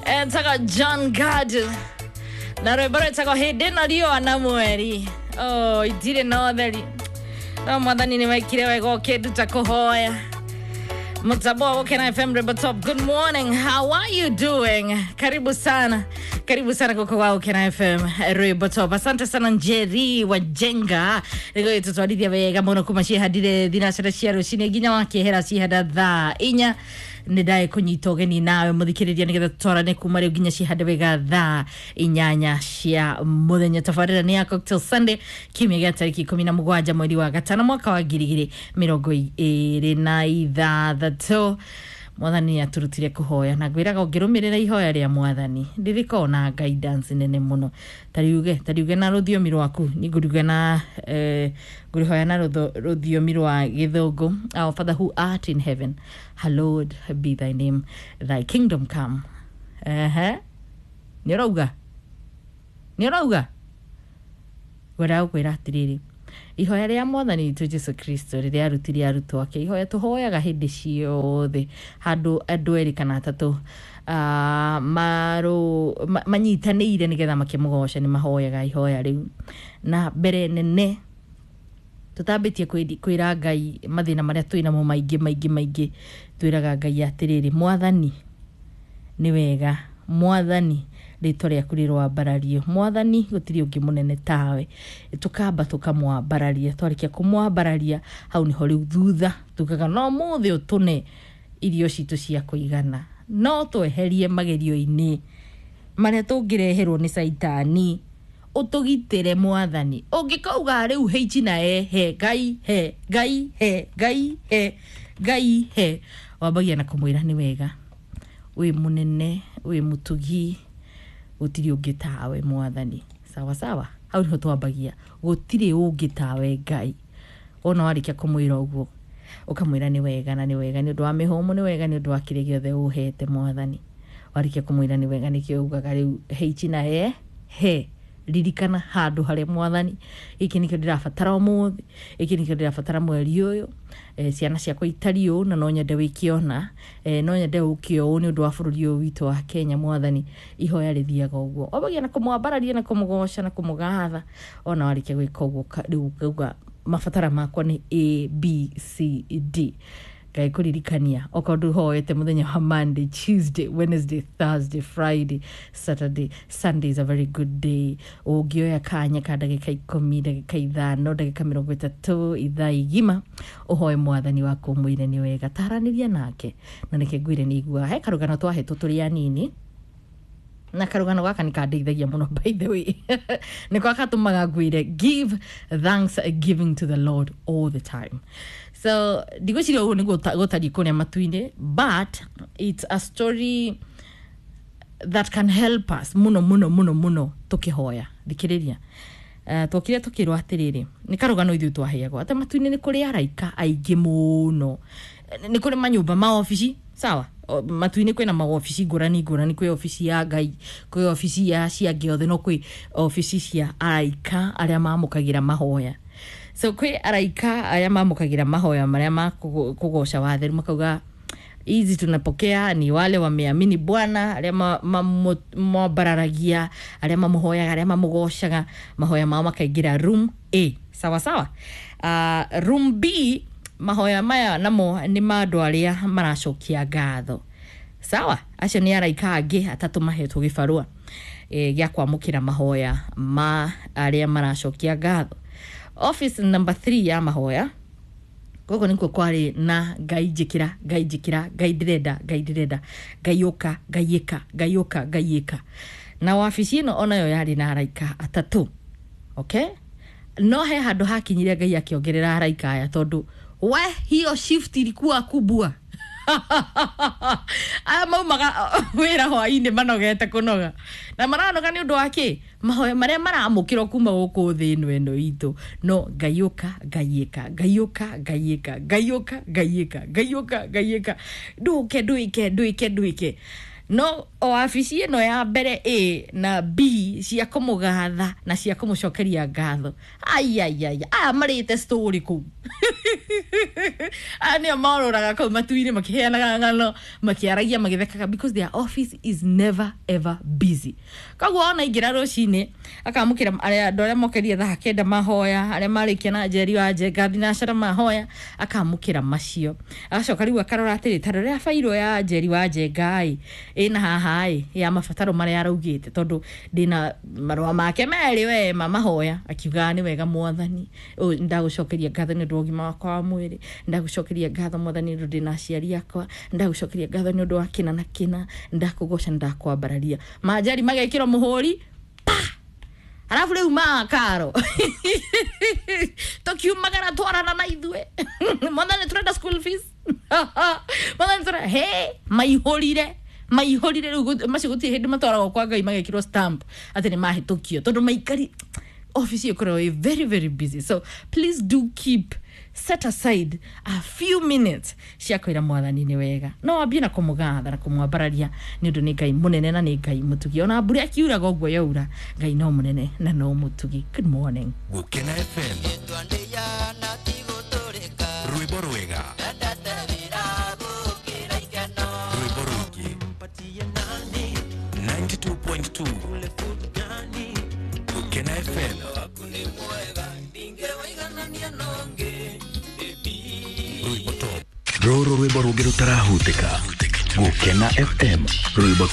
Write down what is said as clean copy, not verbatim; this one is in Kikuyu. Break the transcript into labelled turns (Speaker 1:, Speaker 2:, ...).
Speaker 1: Etagwo John Gad na rwĩmbo rwĩtagwo hĩndĩ ĩno riũa na mweri. Oh, itirĩ na ũtheri, no mwathani nĩ wekire wega ũkĩnduta kũhoya. Mtambo wa Gukena FM Rwimbo Top. Good morning. How are you doing? Karibu sana. Karibu sana kuko wa Gukena FM Rwimbo Top. Asante sana Njeri wa Jenga. Nĩguo tutwarithia wega mũno kuma cihandire thinacara cia rũcinĩ nginya wakĩehera cihanda thaa inya. Nĩ ndaĩ kũnyita ũgeni nawe mũthikĩrĩria nĩgetha tũtwarane kuma rĩu nginya cihande wega thaa inyanya cia mũthenya. Tabarĩra nĩ ya Cocktail Sunday, kiumia gĩa tarĩki 17 mweri wa gatano mwaka wa 2026. Mwathani nĩ aturutire kũhoya na ngwĩraga ũngĩrũmĩrĩra ihoya rĩa mwathani rĩrĩkoragwo na guidance nene mũno. Tariuge na rũthiomi rwaku, ni ngũriuga na ngũrĩhoya na rũthiomi rwa gĩthũngũ. Our Father who art in heaven, hallowed be thy name, thy kingdom come. Ehe, nĩ ũrauga, nĩ ũrauga, ngwendaga gũkwĩra atĩrĩrĩ, ihoya rĩa mwathani witũ Jesu Kristo rĩrĩa arutire arutwo ake, ihoya tũhoyaga hĩndĩ ciothe handũ andũ erĩ kana atatũ manyitanĩire nĩgetha makĩmũgoca, nĩ mahoyaga ihoya rĩu. Na mbere nene tũtambĩtie kwĩra Ngai mathĩna marĩa twĩnamo maingĩ maingĩ maingĩ, twĩraga Ngai atĩrĩrĩ, mwathani nĩ wega, mwathani rĩtwa rĩaku rĩroambarario, mwathani gũtirĩ ũngĩ mũnene tawe. Tũkamba tũkamwambararia, twarĩkia kũmwambararia hau nĩho rĩu thutha tugaga no mũthĩ ũtũne irio citũ cia kũigana, no tweherie magerio-inĩ marĩa tũngĩreherwo nĩ caitani, ũtũgitĩre mwathani. Ũngĩkauga rĩu heichi na ehe Ngai he Ngai he Ngai he Ngai he, wambagia na kũmwĩra nĩ wega, wĩ mũnene, wĩ mũtugi, gũtirĩ ũngĩ tawe mwathani. Sawa sawa, hau nĩho twambagia, gũtirĩ ũngĩ tawe Ngai. Wona warĩkia kũmwĩra ũguo, ũkamwĩra nĩ wega, na nĩ wega nĩ ũndũ wa mĩhũmũ, nĩ wega nĩ ũndũ wa kĩrĩa gĩothe ũhete mwathani. Warĩkia kũmwĩra nĩ wega, nĩkĩo ugaga rĩu heichi na e he, ririkana handũ harĩa mwathani, gĩkĩ nĩkĩo ndĩrabatara ũmũthĩ, gĩkĩ nĩkĩo ndĩrabatara mweri ũyũ, ciana ciakwa itariĩ ũũ na no nyende wĩke ũna, no nyende ũke ũũ nĩ ũndũ wa bũrũri ũyũ witũ wa Kenya mwathani. Ihoya rĩthiaga ũguo, wambagia na kũmwambararia na kũmũgoca na kũmũgatha. Ona warĩkia gwĩka ũguo, rĩu ũkauga mabatara makwa nĩ A B C D. Ngai kũririkania okorwo ndũhoete mũthenya wa Monday, Tuesday, Wednesday, Thursday, Friday, Saturday, Sunday is a very good day. Ũngĩoya kanya ka ndagĩka 10, ndagĩka 5, ndagĩka 30, ithaa igima, ũhoe mwathani waku ũmwĩre nĩ wega, taranĩria nake. Na nĩkĩo ngwĩre nĩ iguaga he karũgano twahetwo tũrĩ anini, na karũgano gaka nĩ kandeithagia mũno, by the way, nĩko gatũmaga ngwĩre give thanks giving to the Lord all the time. So ndigwĩciria ũguo nĩguo gũtariĩ kũrĩa matu-inĩ, but it's a story that can help us mũno mũno mũno mũno tũkĩhoya. Thikĩrĩria. Twokire tũkĩrwo atĩrĩrĩ, nĩ karũgano ithuĩ twaheagwo atĩ matu-inĩ nĩ kũrĩ araika aingĩ mũno, nĩ kũrĩ manyũmba maobici. Sawa, matu-inĩ kwĩna maobici ngũrani ngũrani, kwĩ obici ya Ngai, kwĩ obici ya cia angĩ othe, no kwĩ obici cia araika arĩa mamũkagĩra mahoya. So kwĩ araika arĩa mamũkagĩra mahoya marĩa ma kũgoca watheru, makauga hizi tunapokea ni wale wameamini Bwana, arĩa mamwambararagia, arĩa mamũhoyaga, arĩa mamũgocaga, mahoya mao makaingĩra room A. Sawa sawa. Room B, mahoya maya namo nĩ ma andũ arĩa maracokia ngatho. Sawa, acio nĩ araika angĩ atatũ mahetwo gĩbarũa gĩa kwamũkĩra mahoya ma arĩa maracokia ngatho. Office number 3 ya mahoya, gũkũ nĩkuo kwarĩ na Ngai njĩkĩra, Ngai njĩkĩra, Ngai ndĩrenda, Ngai ndĩrenda, Ngai ũka, Ngai ĩka, Ngai ũka, Ngai ĩka. Na wabici ĩno onayo yarĩ na araika atatũ. Okay, no he handũ hakinyire Ngai akĩongerera araika aya, tondũ we hiyo shift ilikuwa kubwa. Aya maumaga wĩra hwainĩ manogete kũnoga, na maranoga nĩ ũndũ wa kĩ? Mahoya marĩa maramũkĩrwo kuma gũkũ thĩ ĩno ĩno itũ, no Ngai ũka, Ngai ĩka, Ngai ũka, Ngai ĩka, Ngai ũka, Ngai ĩka, Ngai ũka, Ngai ĩka, ndũke, ndwĩke, ndwĩke, ndwĩke. No o wabici ĩno ya mbere A na B cia kũmũgatha na cia kũmũcokeria ngatho, aiaiai, aya marĩte story kũu, aya nĩo morũraga kũu matu-inĩ makĩheanaga ng'ano, makĩaragia, magĩthekaga, because their office is never ever busy. Koguo ona ingĩra rũcinĩ akamũkĩra arĩa andũ arĩa mokeria thaa 9 mahoya, arĩa marĩkia na Njeri wa Njenga thinacara mahoya, akamũkĩra macio, agacoka rĩu akarora atĩrĩ, ta rora bairũ ya Njeri wa Njenga ĩ ĩna haha ĩ ya mabataro marĩa araugĩte, tondũ ndĩna marũa make merĩ we ma mahoya, akiugaga nĩ wega mwathani, ndagũcokeria ngatho nĩ ũndũ wa ũgima wakwa wa mwĩrĩ, ndagũcokeria ngatho mwathani nĩ ũndũ ndĩna aciari akwa, ndagũcokeria ngatho nĩ ũndũ wa kĩna na kĩna, ndakũgoca, ndakwambararia. Manjari magekĩrwo mũhũri pa, arabu rĩu makaro tũkiumagara twarana na ithuĩ, mwathani tũrenda school fees, mwathani tũrenda he maihũrire maihũrire rĩu macio gũtirĩ hĩndĩ matwaragwo kwa Ngai magekĩrwo stamp atĩ nĩ mahĩtũkio, tondũ maikari office ĩkoragwo ĩ very very busy. So please do keep set aside a few minutes cia kwĩra mwathani nĩ wega, no wambie na kũmũgatha na kũmwambararia nĩ ũndũ nĩ Ngai mũnene na nĩ Ngai mũtugi. Ona mbura ĩkiuraga ũguo yaura, Ngai no mũnene na no mũtugi. Good morning.
Speaker 2: Gukena FM, rwĩmbo rwega, rwĩmbo rũingĩ, 92.2 Gukena FM. Rwĩmbo top.
Speaker 3: Rũrũ rwĩmbo rũngĩ rũtarahutĩka. Gukena FM, rwĩmbo.